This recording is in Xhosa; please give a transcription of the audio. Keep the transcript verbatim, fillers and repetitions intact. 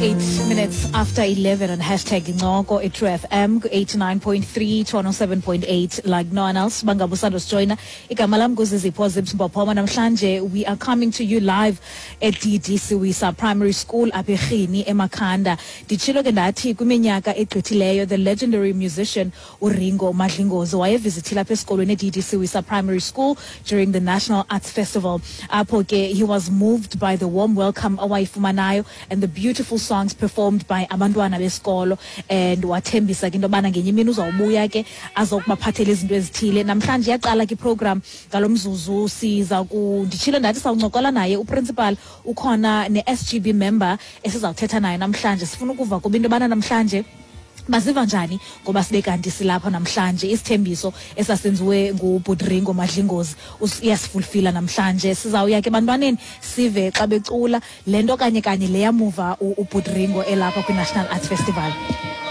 Twenty-eight minutes after eleven on hashtag Incoko at True F M eighty-nine point three to one oh seven point eight, like no one else. Bangabe usandosijoyina, igama lam nguZizipho Zibs Mpophoma. Namhlanje we are coming to you live at D D Siwisa Primary School apha eRhini, eMakhanda. Nditshilo ke ndathi kwiminyaka egqithileyo the legendary musician uRingo Madlingozi wayevizithile apha esikolweni e D D Siwisa Primary School during the National Arts Festival, apho ke he was moved by the warm welcome awayifumanayo and the beautiful songs performed by abantwana besikolo, and wathembisa ke into yobana ngenye imini uzawubuya ke azokubaphathela izinto ezithile. Namhlanje iyaqala ke iprogram. Ngalo mzuzu siza ku nditshilo ndathi sawuncokola naye uprincipal, ukhona ne-S G B member esizawuthetha naye namhlanje. Sifuna ukuva kuba into yobana namhlanje baziva njani ngoba sibe kanti silapha namhlanje. Isithembiso esasenziwe ngubhuti Ringo Madlingozi iyasifulfila namhlanje. Sizawuya ke ebantwaneni, sive xa becula le nto kanye kanye le yamuva ubhuti Ringo elapha kwi-National Arts Festival.